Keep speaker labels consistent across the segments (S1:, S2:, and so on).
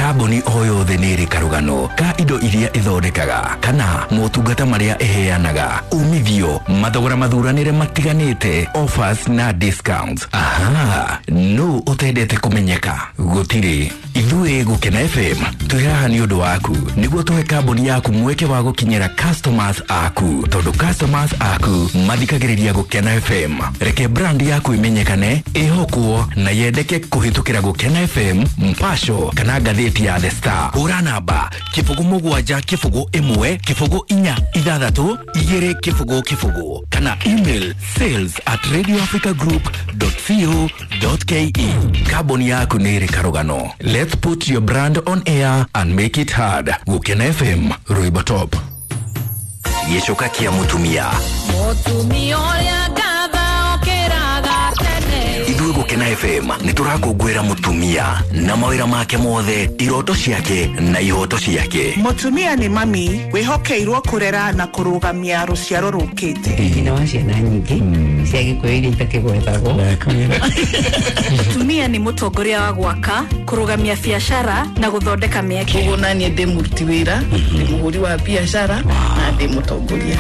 S1: Kambuni o yothe nĩ ĩrĩ karũgano ka indo iria ĩthondekaga kana motungata marĩa ĩheanaga, umithio, mathogora mathuranĩre matiganĩte, offers na discounts. Aha, no ũtendete kũmenyeka? Gũtirĩ. Ithuĩ Gũkena FM twĩ haha nĩ ũndũ waku nĩguo tũhe kambuni yaku mweke wa gũkinyĩra customers aku, tondũ customers aku mathikagĩrĩria Gũkena FM. Reke brand yaku ĩmenyekane, ĩhokwo na yendeke kũhĩtũkĩra Gũkena FM, Mpasho kana ngathĩti ya The Star. Hũra namba 0 7 0 1 0 4 6 2 0 0 kana email sales@radioafricagroup.co.ke. Kambuni yaku nĩ ĩrĩ karũgano. Let's put your brand on air and make it hard. Gũkena FM, rwĩmbo top. Gĩcoka kĩa mũtumia.
S2: Mũtumia ũrĩa ngatha okĩraga tene.
S1: Ithuĩ Gũkena FM nĩ tũrakũngũĩra mũtumia na mawĩra make mothe, iroto ciake na ihoto ciake.
S3: Mũtumia nĩ mami wĩhokeirwo kũrera na kũrũgamia rũciaro rũkĩte.
S4: Nyina wa ciana nyingĩ cia Gĩkũyũ iria itakĩgwetagwo.
S5: Mũtumia nĩ mũtongoria wa gwaka, kũrũgamia biacara na gũthondeka mĩeke.
S6: Koguo naniĩ ndĩ mũruti wĩra, ndĩ mũhũri wa biacara na ndĩ mũtongoria.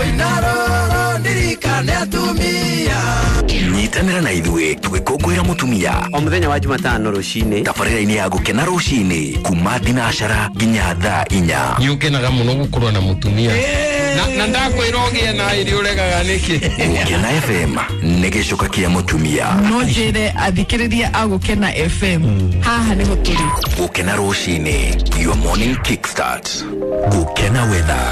S1: Nyitanĩra na ithuĩ tũgĩkũngũĩra mũtumia
S7: o mũthenya wa Jumatano rũcinĩ
S1: tabarĩra-inĩ ya Gũkena rũcinĩ kuma thinacara nginya thaa 4.
S8: Nĩ ũkenaga mũno gũkorwo na mũtumia na ndakwĩra ũgĩe na ĩrĩ ũregaga nĩkĩ?
S1: Gũkena FM nĩ gĩcoka kĩa mũtumia.
S6: No njĩre athikĩrĩria a Gũkena FM haha nĩho tũrĩ.
S1: Gũkena rũcinĩ, your morning kickstart. Gũkena weather.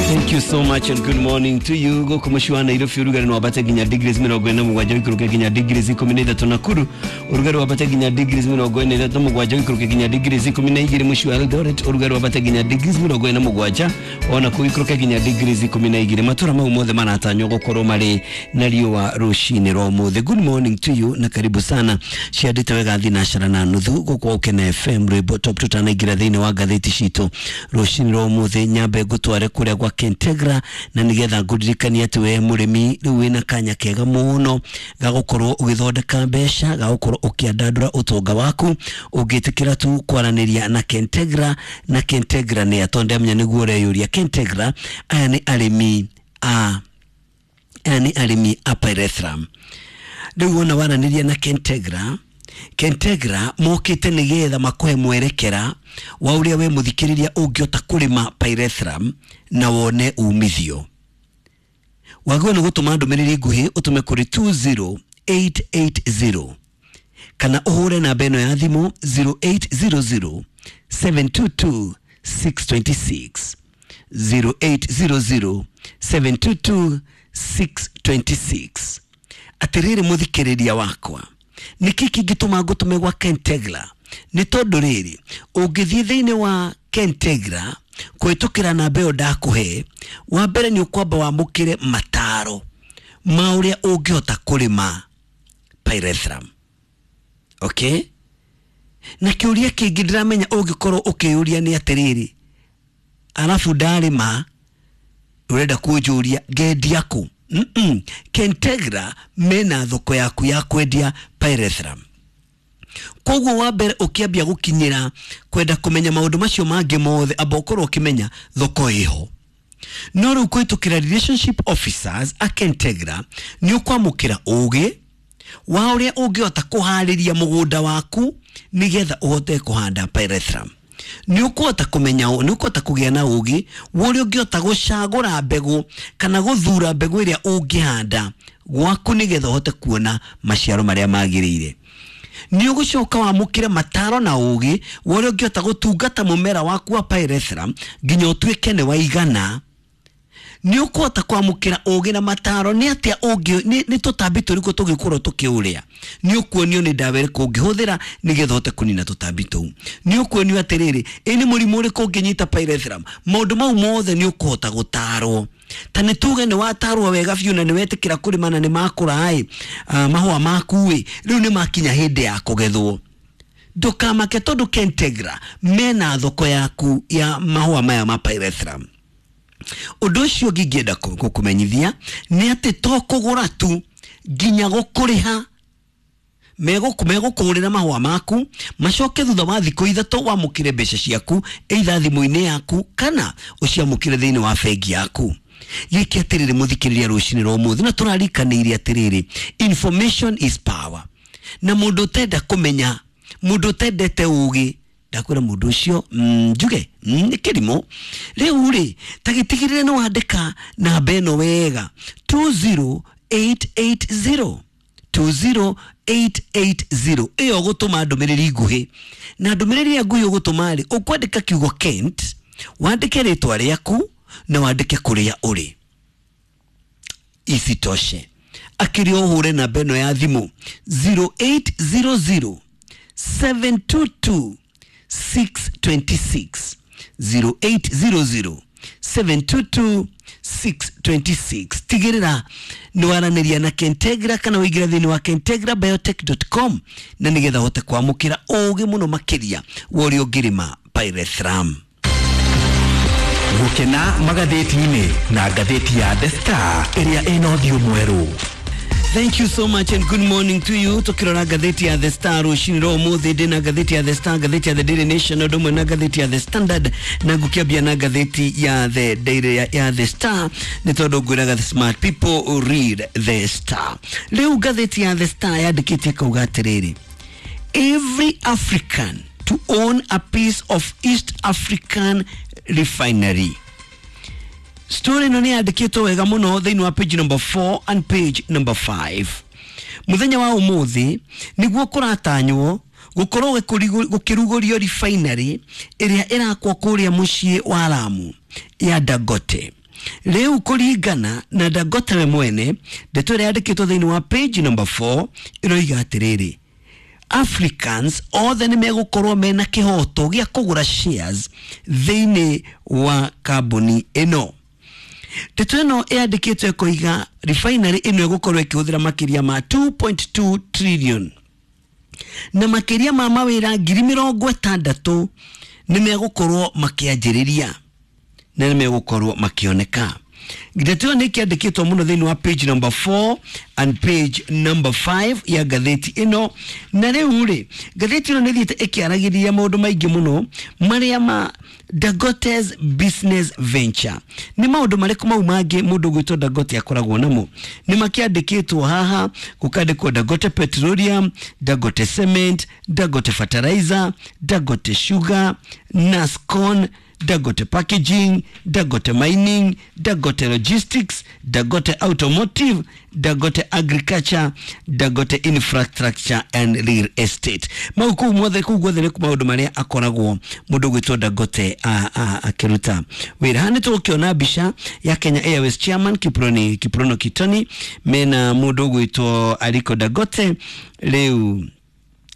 S7: Thank you so much and good morning to you. Gũkũ mũciĩ wa Nairobi ũrugarĩ no wambate nginya degrees 47, ũikũrũke nginya degrees 13. Nakuru ũrugarĩ wambate nginya degrees 47, ũikũrũke nginya degrees 12. Mũciĩ wa Eldoret ũrugarĩ wambate nginya degrees 47, ona kũu ũikũrũke nginya degrees 12. Matũra mau mothe maratanywo gũkorwo marĩ na riũa rũcinĩ rwa ũmũthĩ. Good morning to you na karibu sana. Ciandĩte wega thinacara na nuthu gũkũ Gũkena FM, rwĩmbo top. Tutanaingĩra thĩinĩ wa ngathĩti citũ rũcinĩ rwa ũmũthĩ, nyambe ngũtware kũrĩa gwa Kentegra na nĩgetha ngũririkanie atĩ we mũrĩmi rĩu wĩna kanya kega mũno ga gũkorwo ũgĩthondeka mbeca, ga gũkorwo ũkĩandandũra ũtonga waku ũngĩtĩkĩra tu kwaranĩria na Kentegra. Na Kentegra nĩ atondũ ndamenya nĩguo ũreyũria. Kentegra aya nĩ arĩmi a aya nĩ arĩmi a pyrethrum. Rĩu wona waranĩria na Kentegra, Kentegra mokĩte nĩgetha makũhe mwerekera wa ũrĩa we mũthikĩrĩria ũngĩhota kũrĩma pyrethrum na wone umithio. Wagĩrĩirwo nĩ gũtũma ndũmĩrĩri nguhĩ, ũtũme kũrĩ 20880 kana ũhũre namba ĩno ya thimũ 0800 722 626, 0800 722 626. Atĩrĩrĩ mũthikĩrĩria wakwa, nĩkĩ kĩngĩtũma ngũtũme gwa Kentegra? Nĩ tondũ rĩrĩ, ũngĩthiĩ thĩinĩ wa Kentegra kũhĩtũkĩra namba ĩyo ndakũhe, wa mbere nĩ ũkwamba wamũkĩre mataro ma ũrĩa ũngĩhota kũrĩma pyrethrum. Okay, na kĩũria kĩngĩ ndĩramenya ũngĩkorwo ũkĩyũria nĩ atĩrĩrĩ, arabu ndarĩma ũrenda kũnjũria ngendia kũ? Kentegra mena thoko yaku ya kwendia pyrethrum. Koguo wa mbere ũkĩambia gũkinyĩra kwenda kũmenya maũndũ macio mangĩ mothe, amba ũkorwo ũkĩmenya thoko ĩho. No rĩu kũhĩtũkĩra relationship officers a Kentegra nĩ ũkwamũkĩra ũgĩ wa ũrĩa ũngĩhota kũharĩria mũgũnda waku nĩgetha ũhote kũhanda pyrethrum. Nĩ ũkũhota kũmenya, nĩ ũkũhota kũgĩa na ũgĩ wa ũrĩa ũngĩhota gũcagũra mbegũ kana gũthura mbegũ ĩrĩa ũngĩhanda gwaku nĩgetha ũhote kuona maciaro marĩa magĩrĩire. Nĩ ũgũcoka wamũkĩre mataro na ũgĩ wa ũrĩa ũngĩhota gũtungata mũmera waku wa pyrethrum nginya ũtuĩke nĩ waigana. Nĩ ũkũhota kwamũkĩra ũgĩ na mataro nĩ atĩa ũngĩ nĩ tũtambi tũrĩkũ tũngĩkorwo tũkĩũrĩa. Nĩ ũkuonio nĩ ndawa ĩrĩkũ ũngĩhũthĩra nĩgetha ũhote kũnina tũtambi tũu. Nĩ ũkuonio atĩrĩrĩ, ĩ nĩ mũrimũ ũrĩkũ ũngĩnyita pyrethrum. Maũndũ mau mothe nĩ ũkũhota gũtarwo. Ta nĩ tuge nĩ watarwo wega biũ na nĩ wetĩkĩra kũrĩma na nĩ makũra ĩ, mahũa maku ĩ, rĩu nĩ makinya hĩndĩ ya kũgethwo, ndũkamake tondũ Kentegra mena thoko yaku ya mahũa maya ma pyrethrum. Ũndũ ũcio ũngĩ ingĩenda gũkũmenyithia nĩ atĩ to kũgũra tu, nginya gũkũrĩha. Megũkũrĩra mahũa maku macoke thutha wa thikũ 3 wamũkĩre mbeca ciaku either thimũ-inĩ yaku kana ũciamũkĩre thĩinĩ wa bengi yaku. Gĩkĩ atĩrĩrĩ mũthikĩrĩria rũcinĩ rwa ũmũthĩ, na tũrarikanĩire atĩrĩrĩ, information is power, na mũndũ ũtenda kũmenya, mũndũ ũtendete ũgĩ, ndakwĩra mũndũ ũcio njuge nĩ kĩrimũ. Rĩu rĩ, ta gĩtigĩrĩre nĩ wandĩka namba ĩno wega, 20880 20880. Ĩyo ũgũtũma ndũmĩrĩri nguhĩ, na ndũmĩrĩri ĩrĩa nguhĩ ũgũtũma rĩ, ũkwandĩka kiugo Kent, wandĩke rĩtwa rĩaku na wandĩke kũrĩa ũrĩ. Isitoshe, akĩrĩ ũhũre namba ĩno ya thimũ 0800 722 626, 0800 722 626. Tigĩrĩra nĩ waranĩria na Kentegra kana wĩingĩra thĩinĩ wa kentegrabiotech.com na nĩgetha ũhote kwamũkĩra ũgĩ mũno makĩria wa ũrĩa ũngĩrĩma pyrethrum.
S1: Gũkena magathĩti-inĩ na ngathĩti ya The Star ĩrĩa ĩna ũthiũ mwerũ.
S7: Thank you so much and good morning to you. Tukirora ngathĩti ya The Star rũcinĩ rwa ũmũthĩ, ndĩ na ngathĩti ya The Star, ngathĩti ya The Daily Nation, ũndũ ũmwe na ngathĩti ya The Standard, na ngũkĩambia na ngathĩti ya The Daily ya The Star nĩ tondũ ngwĩraga the smart people read The Star. Rĩu ngathĩti ya The Star yandĩkĩte kauga atĩrĩrĩ, every African to own a piece of East African refinery. Story ĩno nĩ yandĩkĩtwo wega mũno thĩinĩ wa page number 4 and page number 5. Mũthenya wa ũmũthĩ nĩguo kũratanywo gũkorwo gũkĩrugũrio refinery ĩrĩa ĩrakwo kũrĩa mũciĩ wa Lamu ya Dangote. Rĩu kũringana na Dangote we mwene, ndeto ĩrĩa yandĩkĩtwo thĩinĩ wa page number 4 ĩroiga atĩrĩrĩ, Africans othe nĩ megũkorwo mena kĩhoto gĩa kũgũra shares thĩinĩ wa kambuni ĩno. Ndeto ĩno ĩyandĩkĩtwo ĩkoiga refinery ĩno ĩgũkorwo ĩkĩhũthĩra makĩria ma 2.2 trillion na makĩria ma mawĩra 60,000 nĩ megũkorwo makĩanjĩrĩria na nĩ megũkorwo makĩoneka. Ndeto ĩyo nĩ ĩkĩandĩkĩtwo mũno thĩinĩ wa page number 4 and page number 5 ya ngathĩti ĩno. Na rĩu rĩ, ngathĩti ĩno nĩ ĩthiĩte ĩkĩaragĩrĩria maũndũ maingĩ mũno marĩa ma Dangote's business venture. Nĩ maũndũ marĩkũ mau mangĩ mũndũ ũgwĩtwo Dangote akoragwo namo? Nĩ makĩandĩkĩtwo haha, gũkandĩkwo Dangote Petroleum, Dangote Cement, Dangote Fertilizer, Dangote Sugar, Nascon, Dangote Packaging, Dangote Mining, Dangote Logistics, Dangote Automotive, Dangote Agriculture, Dangote Infrastructure and Real Estate. Mau kũu mothe, kũu guothe nĩ maũndũ marĩa akoragwo mũndũ ũgwĩtwo Dangote akĩruta wĩra. Haha nĩ tũgũkĩona mbica ya Kenya Airways chairman Kiprono Kitoni mena mũndũ ũgwĩtwo Aliko Dangote rĩu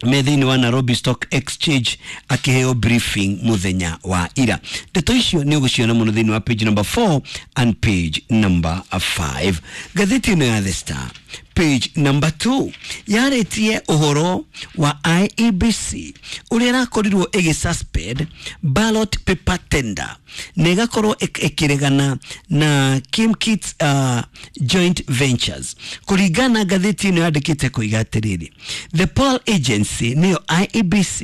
S7: me thĩinĩ wa Nairobi Stock Exchange akĩheo briefing mũthenya wa ira. Ndeto icio nĩ ũgũciona mũno thĩinĩ wa page number 4 and page number 5. Ngathĩti ĩno ya The Star page number 2 yarĩtie ũhoro wa IEBC ũrĩa ĩrakorirwo ĩgĩ suspend ballot paper tender na ĩgakorwo ĩkĩregana na Kimkits joint ventures. Kũringana na ngathĩti ĩno yandĩkĩte koiga atĩrĩrĩ, the poll agency nĩyo IEBC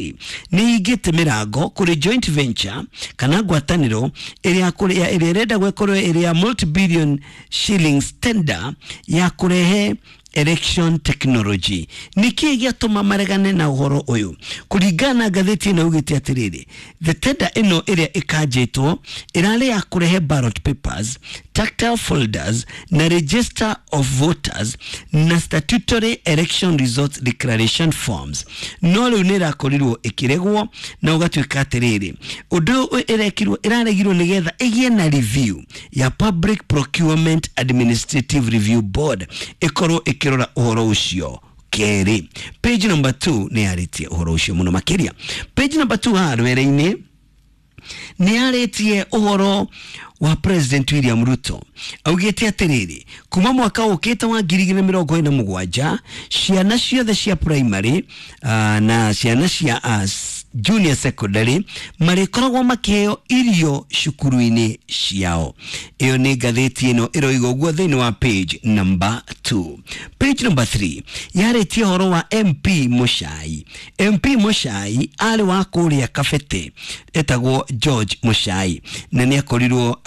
S7: nĩ ĩhingĩte mĩrango kũrĩ joint venture kana ngwatanĩro ĩrĩa ĩrenda gwĩkorwo ĩrĩ ya multi-billion shillings tender ya kũrehe election technology. Nĩkĩĩ gĩatũma maregane na ũhoro ũyũ? Kũringana na ngathĩti ĩno ĩugĩte atĩrĩrĩ, the tender ĩno ĩrĩa ĩkanjĩtwo ĩrarĩ ya kũrehe ballot papers, tactile folders na register of voters na statutory election results declaration forms. No rĩu nĩ ĩrakorirwo ĩkĩregwo na ũgatuĩka atĩrĩrĩ, ũndũ ũyũ ĩrekirwo ĩraregirwo nĩgetha ĩgĩe na review ya Public Procurement Administrative Review Board ĩkorwo ĩkĩrora ũhoro ũcio kerĩ. Page number 2 nĩ yarĩtie ũhoro ũcio mũno makĩria. Page number 2 haha rwere-inĩ nĩ yarĩtie ũhoro wa President William Ruto. Augĩte atĩrĩrĩ, kuma mwaka ũkĩte wa 2027 ciana ciothe cia primary na ciana cia Junior Secondary marĩkoragwo makĩheo irio cukuru-inĩ ciao. Ĩyo nĩ ngathĩti ĩno ĩroiga ũguo thĩinĩ wa page number 2. Page number 3 yarĩtie ũhoro wa MP Muchai. MP Muchai arĩ wa kũrĩa Kabete, etagwo George Muchai, na nĩ akorirwo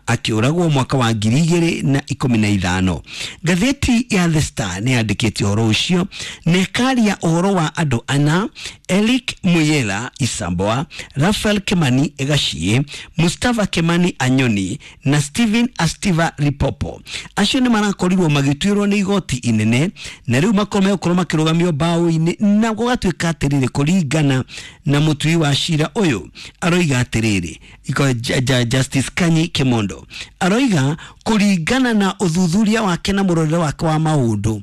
S7: akĩũragwo mwaka wa 2015. Ngathĩti ya The Star nĩ yandĩkĩte ũhoro ũcio na ĩkaria ũhoro wa andũ ana: Eric Muyela Isamboa, Rafael Kimani Gachie, Mustafa Kimani Anyoni na Steven Astiva Ripopo. Acio nĩ marakorirwo magĩtuĩrwo nĩ igoti inene na rĩu makorwo megũkorwo makĩrũgamio mbaũ-inĩ, na gũgatuĩka atĩrĩrĩ, kũringana na mũtui wa cira ũyũ aroiga atĩrĩrĩ, Justice Kanyi Kimondo aroiga kũringana na ũthuthuria wake na mũrorere wake wa maũndũ,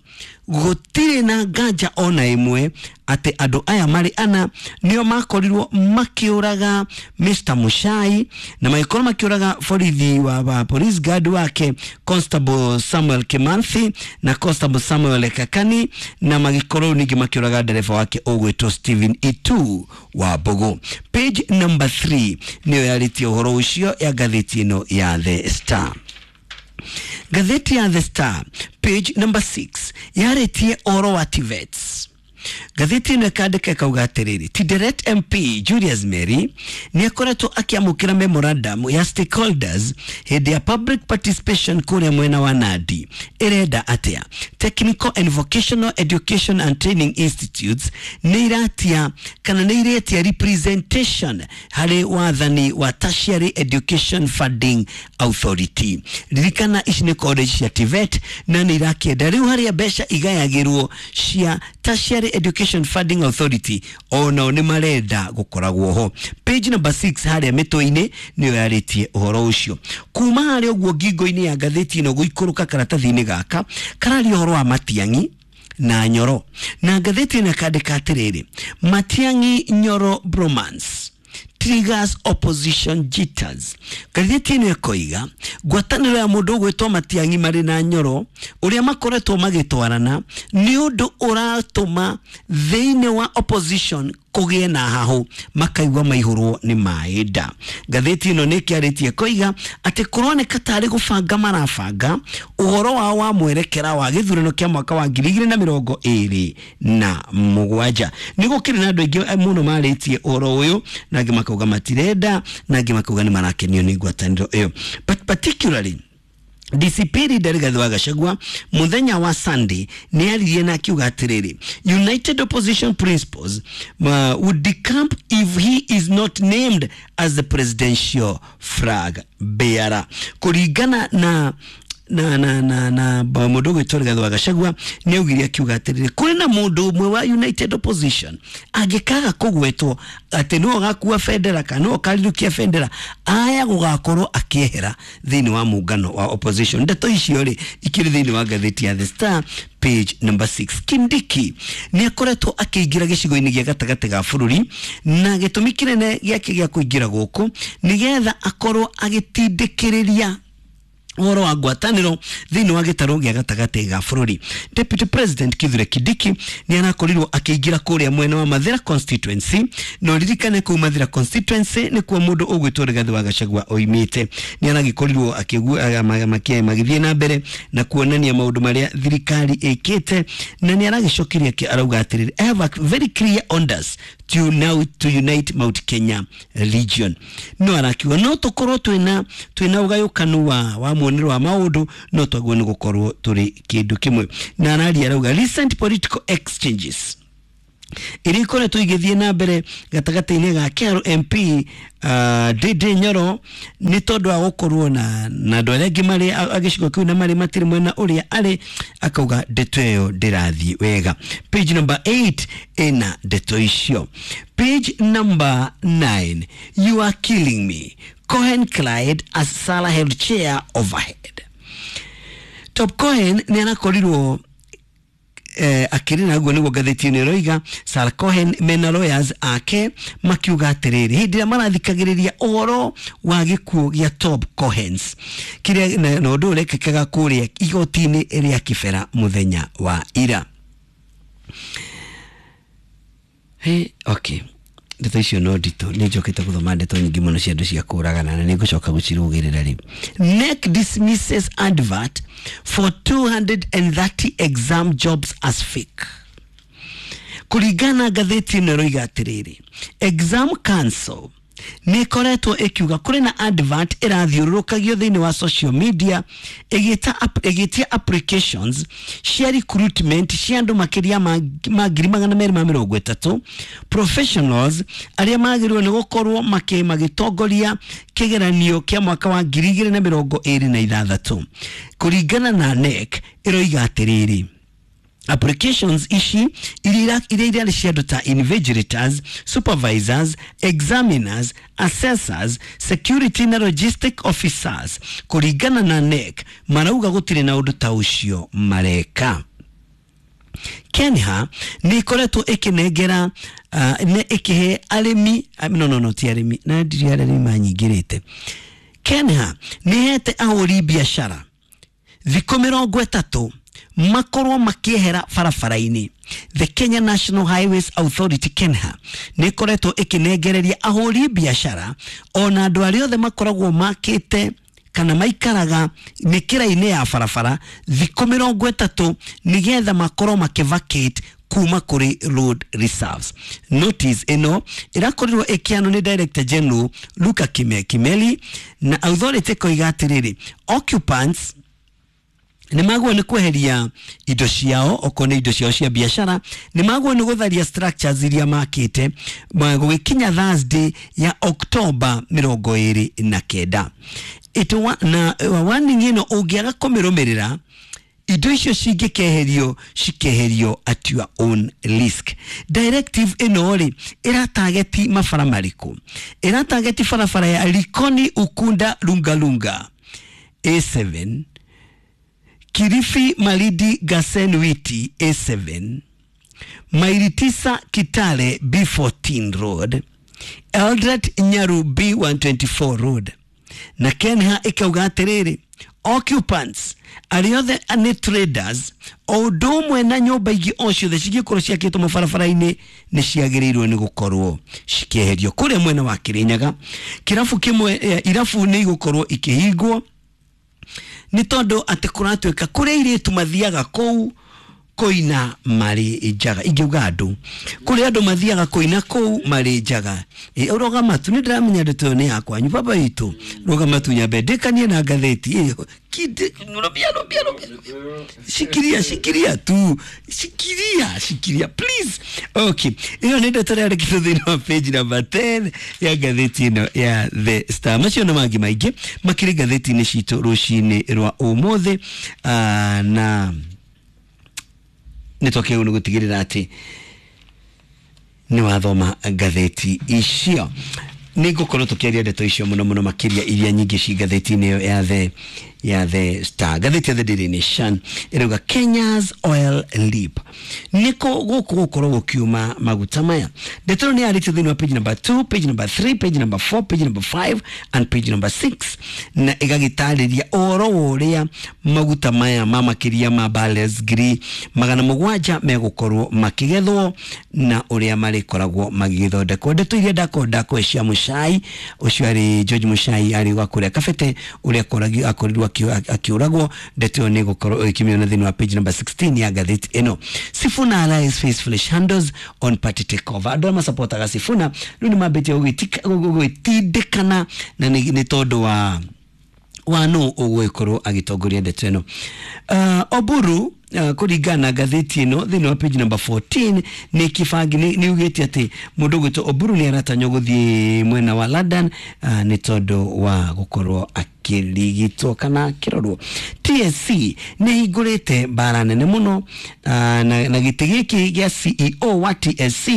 S7: gũtirĩ na nganja ona ĩmwe atĩ andũ aya marĩ ana nĩo makorirwo makĩũraga Mr Muchai na magĩkorwo makĩũraga borithi wa police guard wake Constable Samuel Kimanthi na Constable Samuel Kakani, na magĩkorwo ningĩ makĩũraga ndereba wake ũgwĩtwo Stephen Itu wa Mbogo. Page number 3 nĩyo yarĩtie ũhoro ũcio ya ngathĩti ĩno ya The Star. Ngathĩti ya The Star page number 6 yarĩtie ũhoro wa TVETs. Ngathĩti ĩno ĩkandĩka ĩkauga atĩrĩrĩ, Tinderet MP Julius Mary nĩ akoretwo akĩamũkĩra memorandum ya stakeholders hĩndĩ ya public participation kũrĩa mwena wa Nandi. Ĩrenda atĩa? Technical and Vocational Education and Training Institutes nĩ iratia kana nĩ iretia representation harĩ wathani wa Tertiary Education Funding Authority. Ririkana ici nĩ college cia TVET na nĩ irakĩenda rĩu harĩa mbeca igayagĩrwo cia Tertiary Education Funding Authority onao nĩ marenda gũkoragwo ho. Page number 6 harĩa mĩtwe-inĩ nĩyo yarĩtie ũhoro ũcio. Kuma harĩa ũguo ngingo-inĩ ya ngathĩti ĩno gũikũrũka karatathi-inĩ gaka kararia ũhoro wa Matiang'i na Nyoro, na ngathĩti ĩno ĩkandĩka atĩrĩrĩ, Matiang'i Nyoro bromance triggers opposition jitters. Ngathĩti ĩno ĩkoiga ngwatanĩro ya mũndũ ũgwĩtwo Matiang'i marĩ na Nyoro ũrĩa makoretwo magĩtwarana nĩ ũndũ ũratũma thĩinĩ wa opposition kũgĩe na hahũ, makaigua maihũrwo nĩ maĩ nda. Ngathĩti ĩno nĩ ĩkĩarĩtie koiga atĩ kũroneka tarĩ gũbanga marabanga ũhoro wao wa mwerekera wa gĩthurano kĩa mwaka wa 2027. Nĩ gũkĩrĩ na andũ aingĩ mũno marĩtie ũhoro ũyũ, na angĩ makauga matirenda, na angĩ makauga nĩ marakenio nĩ ngwatanĩro ĩyo. But particularly DCP leader Rigathi wa Gachagua muthenya wa Sunday nĩ aririe na akiuga atĩrĩrĩ, United Opposition principles would decamp if he is not named as the presidential flag bearer. Kũringana na mũndũ ũgwĩtwo Rigathi wa Gachagua nĩ augire akiuga atĩrĩrĩ, kũrĩ na mũndũ ũmwe wa United Opposition angĩkaga kũgwetwo atĩ nĩwe ũgakua bendera kana nĩwe ũkarirũkia bendera, aya gũgakorwo akĩehera thĩinĩ wa mũngano wa opposition. Ndeto icio rĩ ikĩrĩ thĩinĩ wa ngathĩti ya The Star page number 6. Kindiki nĩ akoretwo akĩingĩra gĩcigo-inĩ gĩa gatagatĩ ga bũrũri, na gĩtũmi kĩnene gĩake gĩa kũingĩra gũkũ nĩgetha akorwo agĩtindĩkĩrĩria ũhoro wa ngwatanĩro thĩinĩ wa gĩtarũ gĩa gatagatĩ ga bũrũri. Deputy President Kithure Kindiki nĩ arakorirwo akĩingĩra kũrĩa mwena wa Mathira constituency, na ũririkane kũu Mathira constituency nĩkuo mũndũ ũgwĩtwo Rigathi wa Gachagua oimĩte. Nĩ aragĩkorirwo magĩthiĩ na mbere na kuonania maũndũ marĩa thirikari ĩkĩte, na nĩ aragĩcokeria arauga atĩrĩrĩ, I have a very clear orders to now to unite Mount Kenya region. No arakiuga no tũkorwo twĩna ũgayũkanu wa muonero wa maũndũ, no twagwo nĩ gũkorwo tũrĩ kĩndũ kĩmwe. Na araria arauga recent political exchanges iria ikoretwo igĩthiĩ na mbere gatagatĩ-inĩ ga Kiaru MP Ndindi Nyoro nĩ tondũ wa gũkorwo na andũ arĩa angĩ marĩ a gĩcigo kĩu na marĩ matirĩ mwena ũrĩa arĩ, akauga ndeto ĩyo ndĩrathiĩ wega. Page number 8 ĩna ndeto icio. Page number 9, you are killing me, Cohen Clyde as Salah held chair overhead. Top Cohen nĩ arakorirwo akĩrĩ na guo nĩguo ngathĩti ĩno ĩroiga. Sarah Cohen mena lawyers ake makiuga atĩrĩrĩ, hĩndĩ ĩrĩa marathikagĩrĩria ũhoro wa gĩkuũ gĩa Top Cohens kĩrĩa na ũndũ ũrekĩkaga kũrĩa igoti-inĩ rĩa Kibera mũthenya wa ira. Hey, okay. Ndeto icio no nditũ, nĩ njokete gũthoma ndeto nyingĩ mũno cia andũ cia kũragana na nĩ ngũcoka gũcirũgĩrĩra rĩu. NEC dismisses advert for 230 exam jobs as fake. Kũringana ngathĩti ĩno ĩroiga atĩrĩrĩ, Exam Council nĩ ĩkoretwo ĩkiuga kũrĩ na advert ĩrathiũrũrũkagio thĩinĩ wa social media ĩgĩtia applications cia recruitment cia andũ makĩria ma 230,000 professionals arĩa magĩrĩirwo nĩ gũkorwo magĩtongoria kĩgeranio kĩa mwaka wa 2026. Kũringana na NEC ĩroiga atĩrĩrĩ, applications ici iria irarĩ cia andũ ta invigilators, supervisors, examiners, assessors, security na logistic officers. Kũringana na NEC marauga gũtirĩ na ũndũ ta ũcio mareka. Kenya nĩ ĩkoretwo ĩkĩnengera nĩ ĩkĩhe arĩmi, no ti arĩmi na ndiri arĩmi manyingĩrĩte. Kenya nĩ ĩhete ahũri biacara thikũ 30 makorwo makiehera barabara-inĩ. The Kenya National Highways Authority KENHA nĩ ĩkoretwo ĩkĩnengereria ahũri biacara ona andũ arĩa othe makoragwo makĩte kana maikaraga mĩkĩra-inĩ ya barabara thikũ 30 nĩgetha makorwo makĩvacate kuma kũrĩ road reserves. Notice ĩno ĩrakorirwo ĩkĩanwo nĩ Director General Luka Kimeli na authority ĩkoiga atĩrĩrĩ, occupants nĩ magwo nĩ kweheria indo ciao, okorwo nĩ indo ciao cia biacara, nĩ magwo nĩ gũtharia structures iria makĩte gũgĩkinya Thursday ya October 29. Na warning ĩno ũngĩaga kũmĩrũmĩrĩra, indo icio cingĩkeherio cikeherio at your own risk. Directive ĩno rĩ ĩratageti mabara marĩkũ? Ĩratageti barabara ya Likoni Ukunda Lungalunga A7, Kilifi Malindi Gasen Witi A7, Maili 9 Kitale B14 Road, Eldoret Nyaru B124 Road. Na KENHA ĩkauga atĩrĩrĩ, occupants arĩa othe nĩ traders o ũndũ ũmwe na nyũmba ingĩ o ciothe cingĩkorwo ciakĩtwo mabarabara-inĩ nĩ ciagĩrĩirwo nĩ gũkorwo cikĩeherio. Kũrĩa mwena wa Kĩrĩnyaga kĩrabu kĩmwe, irabu nĩ igũkorwo ikĩhingwo nĩ tondũ atĩ kũratuĩka kũrĩa airĩtu mathiaga kũu kũina marĩ njaga. Ingĩuga andũ kũrĩa andũ mathiaga kũina kũu marĩ njaga. Rũgama tu, nĩ ndĩramenya ndeto ĩyo nĩ ya kwanyu baba witũ. Rũgama tu nyambe ndĩkanie na ngathĩti ĩyo. Rũbia rũbia rũbia, shikiria shikiria tu, shikiria shikiria please. Okay, ĩyo nĩ ndeto ĩrĩa yandĩkĩtwo thĩinĩ wa page number 10 ya ngathĩti ĩno ya The Star. Macio na mangĩ maingĩ makĩrĩ ngathĩti-inĩ citũ rũcinĩ rwa ũmũthĩ, na nĩ twakĩrĩirwo nĩ gũtigĩrĩra atĩ nĩ wathoma ngathĩti icio. Nĩ ngũkorwo tũkĩaria ndeto icio mũno mũno makĩria iria nyingĩ ci ngathĩti-inĩ ĩyo ya The Star. Ngathĩti ya The Daily Nation ĩrauga Kenya's oil leap, nĩkũ gũkũ gũkorwo gũkiuma maguta maya. Ndeto ĩno nĩ yarĩtio thĩinĩ wa page number 2, page number 3, page number 4, page number 5 and page number 6, na ĩgagĩtarĩria ũhoro wa ũrĩa maguta maya ma makĩria ma barrels 700,000 megũkorwo makĩgethwo na ũrĩa marĩkoragwo magĩgĩthondekwo. Ndeto iria ndakorwo ndakũhe cia Muchai, ũcio arĩ George Muchai arĩ wa kũrĩa Kabete ũrĩa akorirwo akiuragwo. Ndeto ĩyo nĩ gũkorwo ĩkĩmĩona thĩinĩ wa page number 16 ya ngathĩti ĩno. Sifuna allies face fresh handles on party takeover. Andũ arĩa masapotaga Sifuna rĩu nĩ mambĩtie gũgĩtindĩkana na nĩ tondũ wa nũ ũgũgĩkorwo agĩtongoria ndeto ĩno. Oburu kũringana na ngathĩti ĩno thĩinĩ wa page number 14 nĩ kĩbangi nĩ ugĩte atĩ mũndũ ũgwĩtwo Oburu nĩ aratanywo gũthiĩ mwena wa London nĩ tondũ wa gũkorwo akĩrigitwo kana akĩrorwo. TSC nĩ ĩhingũrĩte mbara nene mũno, na gĩtĩ gĩkĩ gĩa CEO wa TSC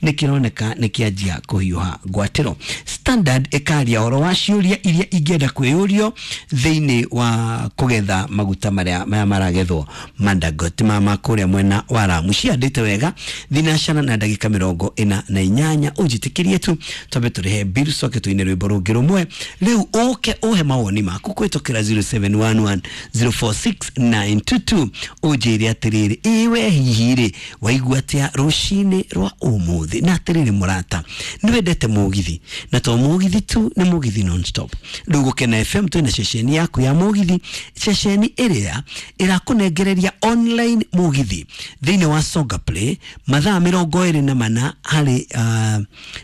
S7: nĩ kĩroneka nĩ kĩanjia kũhiũha ngwatĩro. Standard ĩkaria ũhoro wa ciũria iria ingĩenda kwĩyũrio thĩinĩ wa kũgetha maguta marĩa maya maragethwo Manda Dangote mama kũrĩa mwena wa Lamu. Ciandĩte wega thinacara na ndagĩka 48. Ũnjĩtĩkĩrie tu twambe tũrĩhe bill coke tũine rwĩmbo rũngĩ rũmwe. Rĩu ũke ũhe mawoni maku kũhĩtũkĩra 0711 046922 ũnjĩre atĩrĩrĩ, ĩ we hihi rĩ waigua atĩa rũcinĩ rwa ũmũthĩ? Na atĩrĩrĩ mũrata, nĩ wendete mũgithi, na to mũgithi tu, nĩ mũgithi non-stop. Rĩu Gũkena FM twĩna ceceni yaku ya mũgithi, ceceni ĩrĩa ĩrakũnengereria online mũgithi thĩinĩ wa Songa Play mathaa 24 harĩ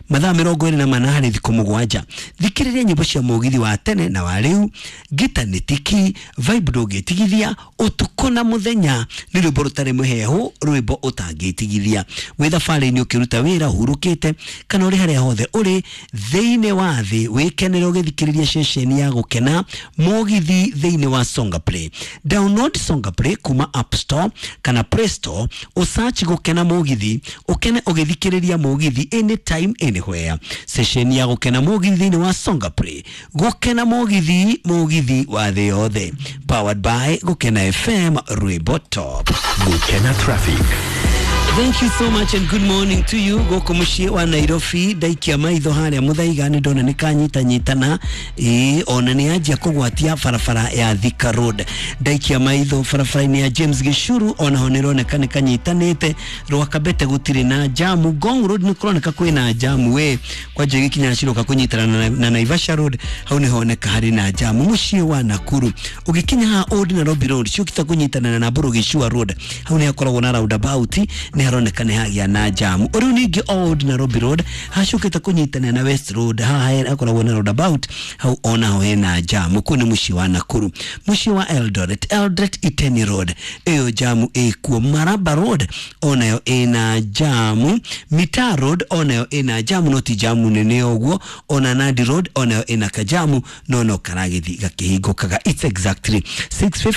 S7: mathaa 24 harĩ thikũ 7. Thikĩrĩria nyĩmbo cia mũgithi wa tene na wa rĩu, ngita nĩ tiki, vibe ndũngĩtigithia, ũtukũ na mũthenya, nĩ rwĩmbo rũtarĩ mũhehu, rwĩmbo ũtangĩtigithia. Wĩ thabarĩ-inĩ ũkĩruta wĩra, ũhurũkĩte, kana ũrĩ harĩa hothe ũrĩ thĩinĩ wa thĩ, wĩkenere ũgĩthikĩrĩria ceceni ya Gũkena mũgithi thĩinĩ wa Songa Play. Download Songa Play kuma App Store kana Play Store, ũsearch Gũkena mũgithi, ũkene ũgĩthikĩrĩria mũgithi anytime anywhere. Ceceni ya Gũkena mũgithi thĩinĩ wa Songa Play. Gũkena mũgithi, mũgithi wa thĩ yothe. Powered by Gũkena FM, rwĩmbo top.
S1: Gũkena Traffic.
S7: Thank you so much and good morning to you. Gũkũ mũciĩ wa Nairobi ndaikia maitho harĩa Mũthaiga nĩ ndona nĩ kanyitanyitana, ĩĩ ona nĩ yanjia kũgwatia barabara ya Thika Road. Ndaikia maitho barabara-inĩ ya James Gĩcuru onaho nĩ ĩroneka nĩ kanyitanĩte. Rwakabete gũtirĩ na jamu. Ngong Road nĩ kũroneka kwĩna jamu we kwanja gĩkinya ciroka kũnyitana na Naivasha Road, hau nĩ honeka harĩ na jamu. Mũciĩ wa Nakuru ũgĩkinya haha Old Nairobi Road ciũkĩte kũnyitana na Namburu Gĩcua Road, hau nĩ hakoragwo na roundabout, nĩ haroneka nĩ hagĩa na jamu. Rĩu ningĩ Old Nairobi Road hacukĩte kũnyitana na West Road, haha hakoragwo na roundabout, hau onaho hena jamu. Kũu nĩ mũciĩ wa Nakuru. Mũciĩ wa Eldoret, Eldoret Iteni Road, ĩyo jamu ĩkuo. Maraba Road onayo ĩna jamu. Mitaa Road onayo ĩna jamu, no ti jamu nene ũguo. Ona Nandi Road onayo ĩna kajamu, no no karagĩthi gakĩhingũkaga. It's exactly 6:50.